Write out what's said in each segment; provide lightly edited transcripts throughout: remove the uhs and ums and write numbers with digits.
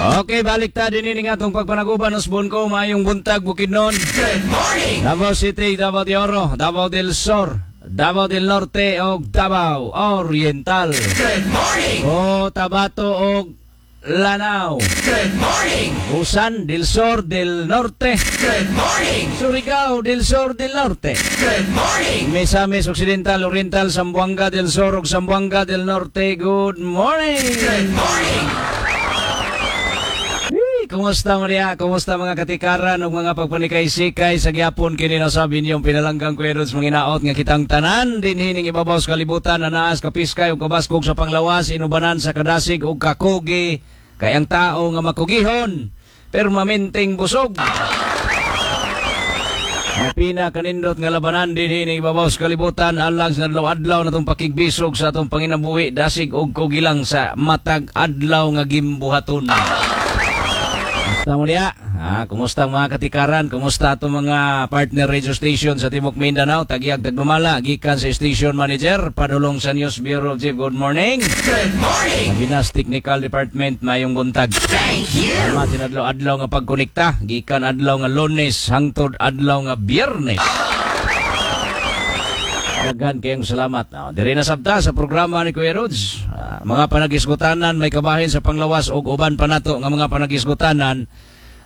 Okay, balik ta din ini nga atong pagpanaguban usbon ko. Maayong buntag, Bukidnon. Good morning. Davao City, Davao de Oro, Davao del Sur, Davao del Norte ug Davao Oriental. Good morning. Cotabato ug Lanao. Good morning. Usan del Sur del Norte. Good morning. Surigao del Sur del Norte. Good morning. Misamis Occidental, Oriental, Zamboanga del Sur ug Zamboanga del Norte. Good morning. Good morning. Hey, kumusta, Maria? Kumusta mga katikaran ug mga pagpanikay-sikay sa gyapon kini nasabi ninyong pinalanggang Kuya Rods manginaot nga kitang tanan dinhi ning ibabaw sa kalibutan na naas kapiskay ug kabaskog sa panglawas, inubanan sa kadasig ug kakugi, kay ang tao nga makugihon permanenteng busog. Ang pinakanindot nga labanan dinhi ning ibabaw sa kalibutan alang sa adlaw-adlaw na itong pakigbisog sa atong panginabuhi, dasig ug kugilang sa matag adlaw nga gimbuhaton. Kumusta mo diya? Ah, kumusta ang mga katikaran? Kumusta atong mga partner radio station sa Timok Mindanao? Tagiyag tagdumala, gikan sa station manager, padulong sa News Bureau Chief. Good morning. Good morning. Binas Technical Department, mayong buntag. Thank you. Salamat adlaw-adlaw nga pagkonekta, gikan adlaw nga Lunes hangtod adlaw nga Biyernes. Daghan kayong salamat. Oh, diri na sabta sa programa ni Kuya Rods. Ah, mga panagisgutanan may kabahin sa panglawas ug uban pa nato nga mga panagisgutanan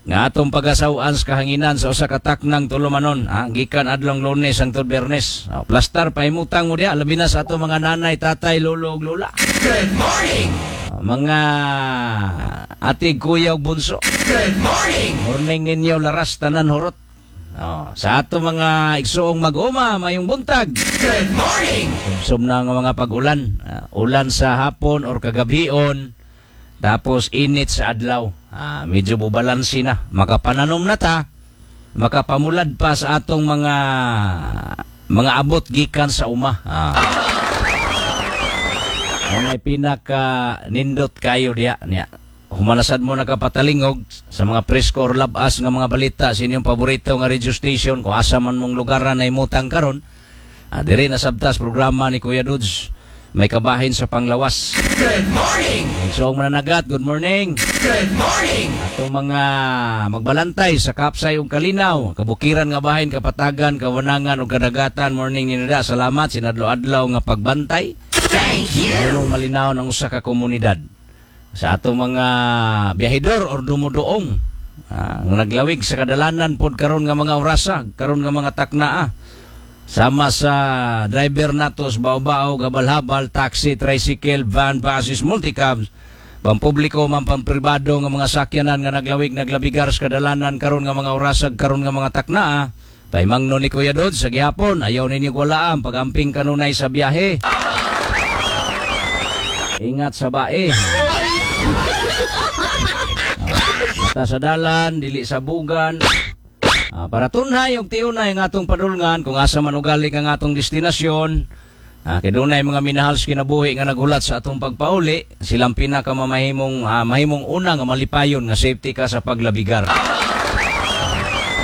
nga atong pagasaw-an sa kahanginan sa usa ka taknang tulumanon. Ah, gikan adlong Lunes hangtod Biyernes. Oh, plastar pahimutang mo diya, labi na sa atong mga nanay, tatay, lolo ug lola. Good morning. Ah, mga ate, kuya ug bunso. Good morning. Morning ninyo, laras tanan horot. Oh, sa ato mga igsuong mag-uma, mayong buntag. Good morning. Sumsum na nga mga pag-ulan. Ah, ulan sa hapon or kagabhion. Tapos init sa adlaw. Ah, medyo bubalansi na. Makapananom na ta. Makapamulad pa sa atong mga abot gikan sa uma. Ah. Ang may pinaka nindot kayo diya niya. Humanasad mo nakapatalingog sa mga presko or labas nga mga balita sa inyong paborito nga radio station kung asa man mong lugar na imutang karon. Ah, diri na sabtas programa ni Kuya Dudes. May kabahin sa panglawas. Good morning. So, mananagat, good morning. Good morning. Atong mga magbalantay sa Kapsay ug Kalinaw, kabukiran nga bahin, kapatagan, kawanangan ug kadagatan, morning ninyo. Salamat sinadlo-adlaw nga pagbantay. Thank you. Anong malinaw ng usa ka komunidad. Sa atong mga biyahidor or dumuduong ah, nga naglawig sa kadalanan pod karon nga mga orasa, karon nga mga taknaa. Sama sa driver natos, bao-bao, gabal-habal, taxi, tricycle, van, buses, multicabs, pampubliko man pampribado nga mga sakyanan nga naglawig naglabigar sa kadalanan karon nga mga orasag, karon nga mga taknaa. Paimangno ni Kuya Dod sa gihapon, ayaw ninyo walaam pagamping kanunay sa biyahe. Ingat sa bae. Mata sa dalan, dili sa bugan. Ah, para tunhay ug tiunay ang atong padulngan kung asa man ugali ang atong destinasyon. Ah, kay dunay mga minahal sa kinabuhi nga nagulat sa atong pagpauli, silang pinakamamahimong mahimong una nga malipayon nga safety ka sa paglabigar.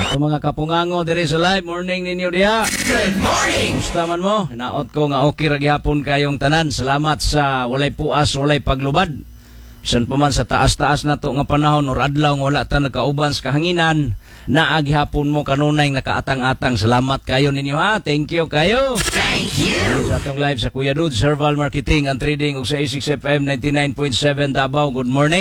Ato mga kapungango diri sa live, morning ninyo diha. Good morning. Kumusta man mo? Hinaot ko nga okay ra gihapon kayong tanan. Salamat sa walay puas, walay paglubad. Bisan pa man sa taas-taas na to nga panahon or adlaw nga wala ta nagkauban sa kahanginan, naa gihapon mo kanunay nakaatang-atang. Salamat kayo ninyo ha. Thank you kayo. Thank you. Sa atong live sa Kuya Dudes, Herbal Marketing and Trading ug sa A6 FM 99.7 Davao. Good morning.